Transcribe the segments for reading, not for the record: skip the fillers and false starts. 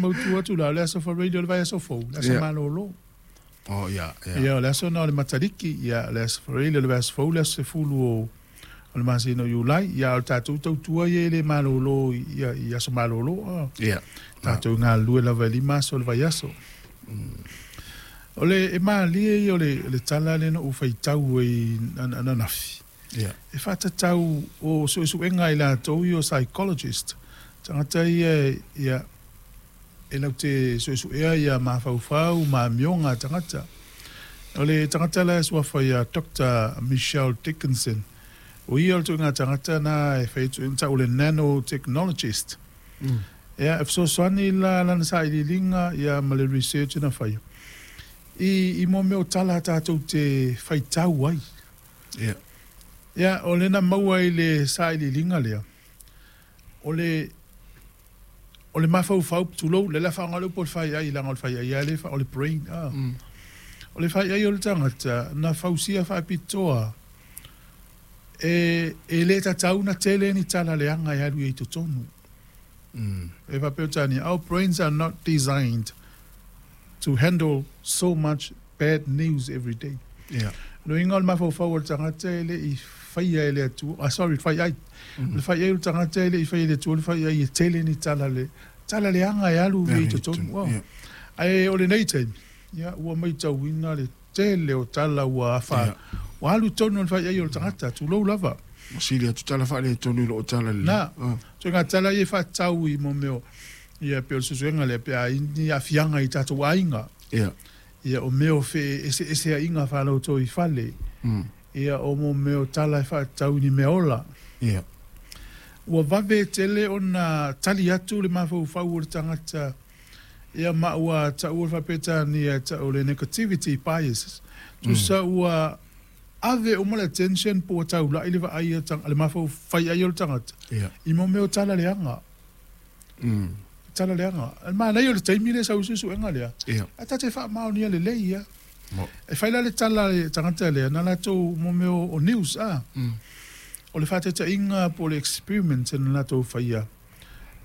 mautu atu la, o le aso Faraile o le vaiaso fou, le aso malōlō. Oh, ia, ia. Ia, o le aso lena o le Mataliki, ia, o le aso Faraile o le vaiaso fou, le aso 10 o le masina o Iulai. Ia, a o le tatou tautua ia e le malōlō i, i aso malōlō. Ah. Ia. Tatou galulue lava e 5 aso o le vaiaso. O le, e malie ia o le, le tala lea na ou faitau ai ananafi. Ia. E faatatau o suesuega a i latou ia o psychologist, tagata ia, ia, e latou te suesuea ia mafaufau ma amioga a tagata. O le tagata la e suafa ia Doctor Michelle Dickinson, o ia o le ituaiga tagata na e fai atu, tau o le nanotechnologist. Ia, e fesoasoani la lana sailiiliga ia ma le research na faia i mo mea o tala tatou te faitau ai. Ia. Ia, o lena maua i le sailiiliga lea, o le o le mafaufau, tulou, lea la faaaoga le upu o le faiai, leaga o le faiai lava lea, o le brain. Ah. O le faiai o le tagata, na fausia faapitoa e le tatau na tele ni tala leaga e alu i ai totonu. E faapea Peretania, our brains are not designed to handle so much bad news every day. Yeah. Lona uiga o le mafaufau o le tagata e le i faia e le Atua, ah, sorry, faiai. O le faiai o le tagata e le i faia e le Atua, le faiai e tele ni tala le, tala leaga e alu i totonu. Oh. Ae o lenei taimi, ia, ua matauina le tele o tala ua afa, ua alu tonu le faiai o le tagata, tulou lava. Ua sili atu tala faaletonu i loo tala lelei. Na, ituaiga tala ia e faatatau i mo mea o, ia, pei o le suesuega lea, pe a i ai ni aafiaga i tatou aiga. Ia. Ia, o mea o feeseeseaiga faa-lotoifale. Ia, o mo mea o tala e faatatau i ni mea ola. Ia. Ua vave tele ona tali atu le mafaufau o le tagata, ia, ma ua taua le faa-Peretania e tau o le negativity bias. Tusa ua ave uma le attention po ua taulai le vaai a le mafaufai ai o le tagata i mo mea o tala leaga. Tala leaga. E manaia o le taimi lea e sau ai suesuega lea, ae ta te faamaonia lelei ia. E fai la le tala a le tagata lea, na latou mo mea o news, a. O le faataitaiga po o le experiment na latou faia,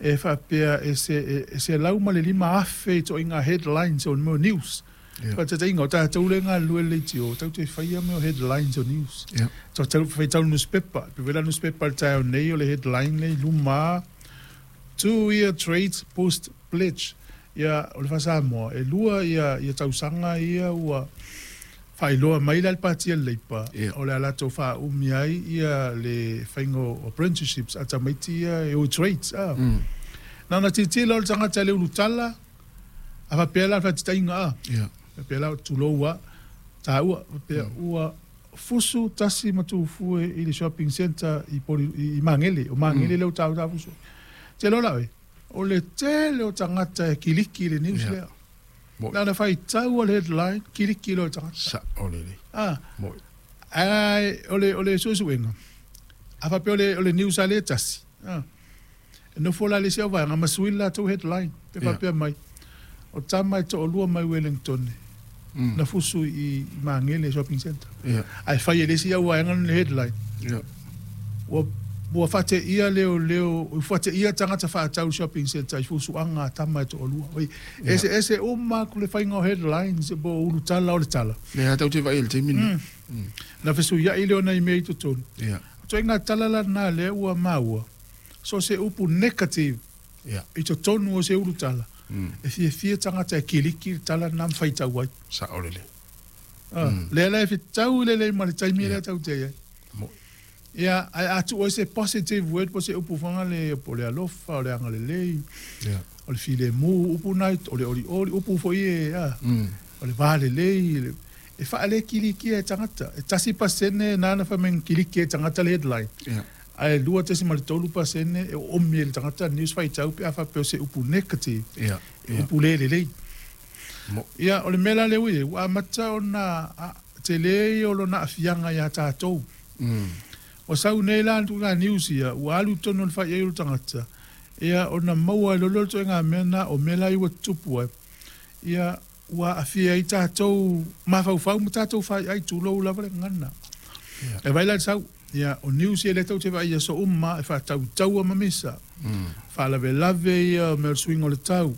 e faapea e 105,000 ituaiga headlines o mea o news. Faataitaiga, o tatou lea e galulue i le leitio, tatou te faia mea o headlines o news. Tatou faitau i le nusipepa, e pei foi la nusipepa i le taeao nei o le headline lea i luma, 2 year trades post pledge. Ia, o le faa-Samoa, e 2 ia tausaga ia ua faailoa mai la le Pati a le Leipa, o le a latou faaumi ai ia le faiga o apprenticeships a tamaiti ia e o i trades. A. Na ona tilotilo le tagata i le ulutala, a faapea la le faataitaiga, a. Faapea la, tulou a, taua, faapea ua fusu tasi ma tufue i le shopping centre i Poli, i Magele, o Magele lea ua taua ta fusu. Te iloa la oe, o le tele o tagata e kiliki i le news lea. Na ona faitau o le headline, kiliki loa le tagata. Sao lelei. Ah. Moi. Ae o le suesuega, a faapea o le news a lea e tasi, ah, e nofo la le isi au vaega ma sui le latou headline, pe faapea mai, o tama e toalua mai Wellington na fusu i Magele shopping centre. Ae fai e le isi au vaega le headline. Ua ua faateia leoleo, ua faateia tagata faatau shopping centre i fusuaga a tama e toalua. Oi, eseese uma atu le faiga o headlines po o ulutala o le tala. Lea tatou te vaai i le taimi lenei. Na fesuiai lea o nai mea i totonu. Ia. O ituaiga tala la lena lea ua maua, so o se upu negative i totonu o se ulutala, e fiafia tagata e kiliki le tala lena ma faitau ai. Sao lelei. Ah, lea la e fetau lelei ma le taimi lea tatou te i ai. Moi. Ia, ae a tuu ai se positive word po se upu fanga le, po o le alofa, o le agalelei, o le filemu, upu na, o le olioli, upu foi e, a, o le va lelei, e faalekilikia e tagata. E 1% na na fai mai na kiliki e tagata le headline. Ae 2.3% e oomi e le tagata news faitau pe a faapea o se upu negative, e upu le lelei. Mo. Ia, o le mea la lea ua i ai, ua amata ona tele ia o lona aafiaga iā tatou. Ua sau nei la ituaiga news ia, ua alu i totonu o le faiai o le tagata, ia ona maua ai loa lea o le ituaiga mea lena, o mea la ia ua tutupu ai, ia ua aafia ai tatou mafaufau ma tatou faiai, tulou lava le gagana. E vaai la i le sau, ia o news ia lea tatou te vaai i aso uma, e faatautaua ma misa, faalavelave ia o mea o le suiga o le tau.